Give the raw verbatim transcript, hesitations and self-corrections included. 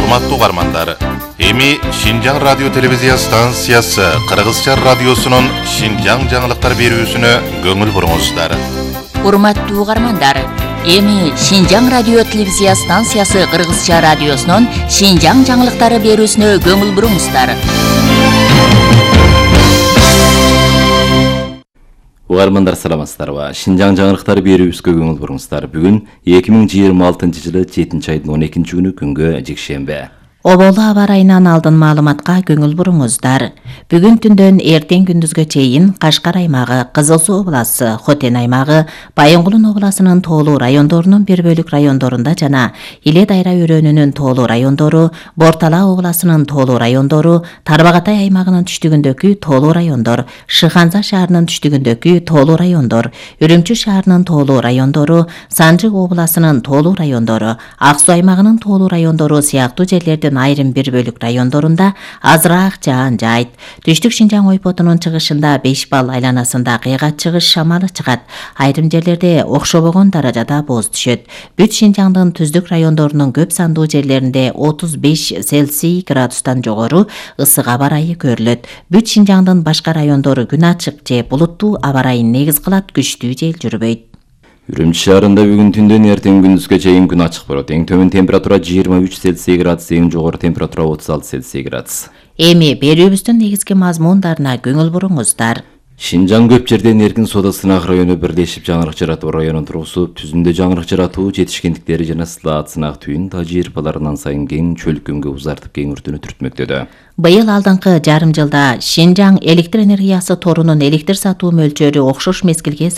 Урматтуу угармандар, эми Шинжаң радио телевизия станциясы Кыргызча радиосунун Шинжаң жаңылыктар берүүсүнө көңүл буруңуздар. Урматтуу угармандар, эми Шинжаң радио телевизия станциясы Кыргызча радиосунун Шинжаң жаңылыктары берүүсүнө көңүл буруңуздар. Угармандар саламатсыздарбы? Шинжаң жаңылыктары берүүбүзгө көңүл буруңуздар. Бүгүн эки миң жыйырма алтынчы жылы жетинчи айдын он экинчи күнү күнгө жекшемби. Оболу аба ырайынан алдын маалыматка көңүл буруңуздар. Бүгүн түндөн эртең күндүзгө чейин Кашкар аймагы, Кызыл Суу областы, Хотен аймагы, Байынгулун областынын тоолуу райондорунун бир бөлүк райондорунда жана Иле Дайра өрөөнүнүн тоолуу райондору, Бортала областынын тоолуу райондору, Тарбагатай аймагынын түштүгүндөгү тоолуу райондор, Шыханза шаарынын түштүгүндөгү тоолуу райондор, Үрүмчү шаарынын тоолуу райондору, Санжы областынын тоолуу райондору, Ак Суу аймагынын тоолуу райондору сыяктуу жерлердин айрым бир бөлүк райондорунда азыраак жаан жайт. Түштүк Шинжаң ойпотунун чыгышында беш балл айланасында кыйгат чыгыш шамалы чыгат. Айрым жерлерде окшобогон даражада боз түшөт. Бүт Шинжаңдын түздүк райондорунун көп сандуу жерлеринде отуз беш Цельсий градустан жогору ысык аба ырайы көрүлөт. Бүт Шинжаңдын башка райондору күн ачык же булуттуу аба ырайын негиз кылат, күчтүү жел жүрбөйт. Үрүмчү шаарында бүгүн түндөн эртең күндүзгө чейин күн ачык болот. Эң төмөн температура жыйырма үч Цельсий градус, эң жогору температура отуз алты Цельсий градус. Эми берүүбүздүн негизги мазмундарына көңүл буруңуздар. Шинжаң көп жерден эркин соода сынак району бирлешип жаңырык жаратуу районун тургузуп, түзүндө жаңырык жаратуу жетишкендиктери жана сылаат сынак түйүн тажрыйбаларынан сайын кең чөлкөмгө узартып кеңиртүүнү түртмөктөдө. Быйыл алдыңкы жарым жылда Шинжаң электр энергиясы торунун электр сатуу мөлчөрү окшош мезгилге